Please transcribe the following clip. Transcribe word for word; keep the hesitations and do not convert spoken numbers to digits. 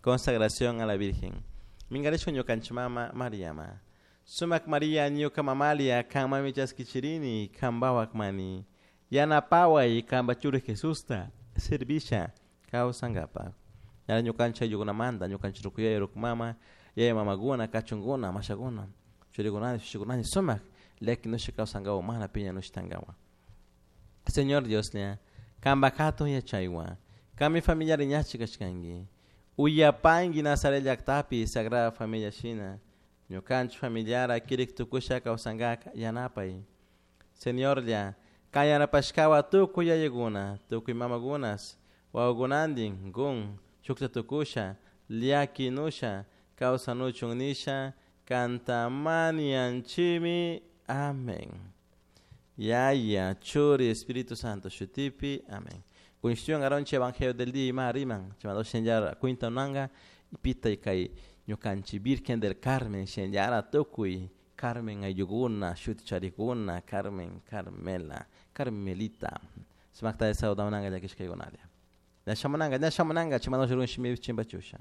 Consagración a la Virgen. Mingarishun ñukanchik mama Mariama. Sumak Maria ñuka mamalia kanmami chaskichirini kanpawak mani. Yanapaway kanpa churi Jesusta servisha kawsankapak. Ñara ñukanchik ayllukunamanta ñukanchik ruku yaya ruku mama yaya mamakuna kachunkuna mashakuna churikunani shushikunani sumak llakinushka kawsankawan mana piñanushtankawan. Señor Dioslla, kanpak hatun yachaywan, kanmi familiar ñachi kashkanki. Uyapanki Nazaret llaktapi Sagrada Familia shina, ñukanchik familiara kirik tukusha kawsankaka yanapay. Señorlla, kan yanapashkawan tukuy yayakuna, tukuy mamakunas, wawakunantin kun shukta tukusha, llakinusha, kawsanuchun nisha, kanta mañanchimi. Amén. Yaya, Churi, Espíritu Santo, shutipi. Amén. Cuestión aronche Evangelio del día ima riman, chamado shenjara cuinta nanga pita y kay ñukanchi Virgen del Carmen shenjara tukuy Carmen ayuguna, shuti charikuna, Carmen, Carmela, Carmelita. Sumakta de sauda unanga llakishkaykunalia. Ñashamunanga, ñashamunanga, chamado shurun shimi chimbachusha.